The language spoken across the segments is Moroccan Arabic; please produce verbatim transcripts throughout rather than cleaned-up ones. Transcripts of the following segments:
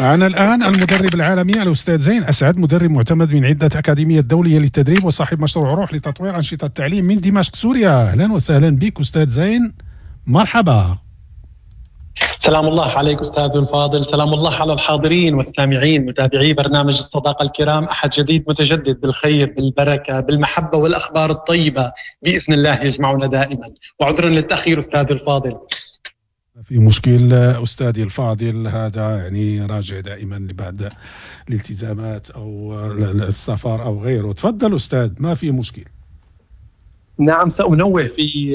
معنا الآن المدرب العالمي الأستاذ زين أسعد، مدرب معتمد من عدة أكاديميات دولية للتدريب وصاحب مشروع روح لتطوير أنشطة التعليم من دمشق سوريا. أهلا وسهلا بك أستاذ زين، مرحبا. سلام الله عليك أستاذ الفاضل، سلام الله على الحاضرين والسامعين متابعي برنامج الصداقة الكرام. أحد جديد متجدد بالخير بالبركة بالمحبة والأخبار الطيبة بإذن الله يجمعنا دائما، وعذرا للتأخير أستاذ الفاضل. في مشكل أستاذي الفاضل، هذا يعني راجع دائما لبعض الالتزامات أو السفر أو غيره. تفضل أستاذ، ما في مشكل. نعم، سأنوه في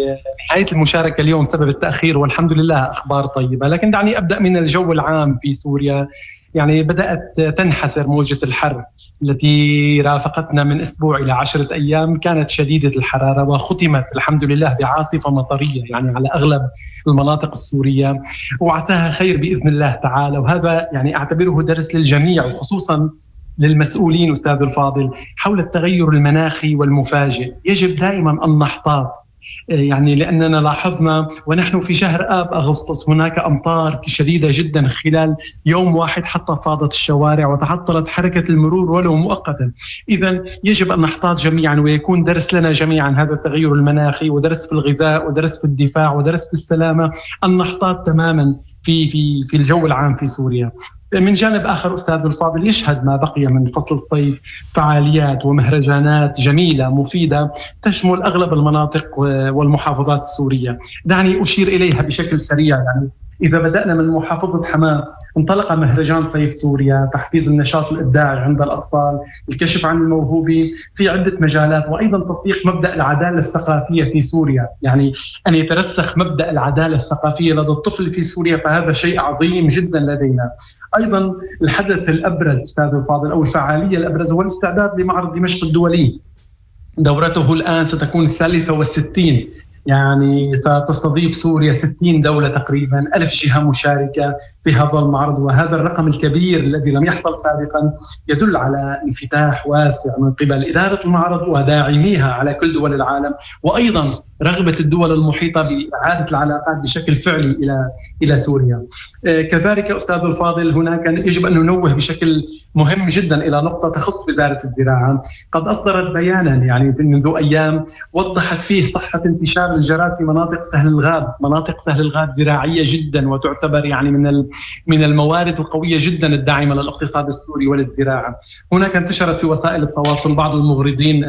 نهاية المشاركة اليوم سبب التأخير، والحمد لله أخبار طيبة. لكن دعني أبدأ من الجو العام في سوريا. يعني بدأت تنحسر موجة الحر التي رافقتنا من أسبوع إلى عشرة أيام، كانت شديدة الحرارة وختمت الحمد لله بعاصفة مطرية يعني على أغلب المناطق السورية، وعساها خير بإذن الله تعالى. وهذا يعني أعتبره درس للجميع وخصوصا للمسؤولين أستاذ الفاضل حول التغير المناخي والمفاجئ. يجب دائما أن نحتاط، يعني لأننا لاحظنا ونحن في شهر آب أغسطس هناك أمطار شديدة جدا خلال يوم واحد حتى فاضت الشوارع وتعطلت حركة المرور ولو مؤقتا. إذا يجب أن نحتاط جميعا ويكون درس لنا جميعا هذا التغير المناخي، ودرس في الغذاء ودرس في الدفاع ودرس في السلامة، أن نحتاط تماما في في في الجو العام في سوريا. من جانب آخر أستاذ الفاضل، يشهد ما بقي من فصل الصيف فعاليات ومهرجانات جميلة مفيدة تشمل أغلب المناطق والمحافظات السورية. دعني أشير إليها بشكل سريع. يعني إذا بدأنا من محافظة حماة، انطلق مهرجان صيف سوريا، تحفيز النشاط الإبداعي عند الأطفال، الكشف عن الموهوبين في عدة مجالات، وأيضا تطبيق مبدأ العدالة الثقافية في سوريا. يعني أن يترسخ مبدأ العدالة الثقافية لدى الطفل في سوريا فهذا شيء عظيم جدا لدينا. أيضا الحدث الأبرز أستاذ الفاضل أو الفعالية الأبرز هو الاستعداد لمعرض دمشق الدولي، دورته الآن ستكون الثالثة والستين، يعني ستستضيف سوريا ستين دولة تقريبا، ألف جهة مشاركة في هذا المعرض. وهذا الرقم الكبير الذي لم يحصل سابقا يدل على انفتاح واسع من قبل إدارة المعرض وداعميها على كل دول العالم، وأيضا رغبة الدول المحيطة بإعادة العلاقات بشكل فعلي إلى إلى سوريا. كذلك أستاذ الفاضل، هناك يجب أن ننوه بشكل مهم جدا إلى نقطة تخص وزارة الزراعة. قد أصدرت بيانا يعني منذ أيام وضحت فيه صحة انتشار الجراد في مناطق سهل الغاب. مناطق سهل الغاب زراعية جدا وتعتبر يعني من من الموارد القوية جدا الداعمة للاقتصاد السوري وللزراعة. هناك انتشرت في وسائل التواصل بعض المغرضين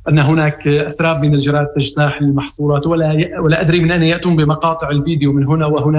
أن هناك أسراب من الجراد تجتاح المحصولات، ولا ولا أدري من أين يأتون بمقاطع الفيديو من هنا وهناك.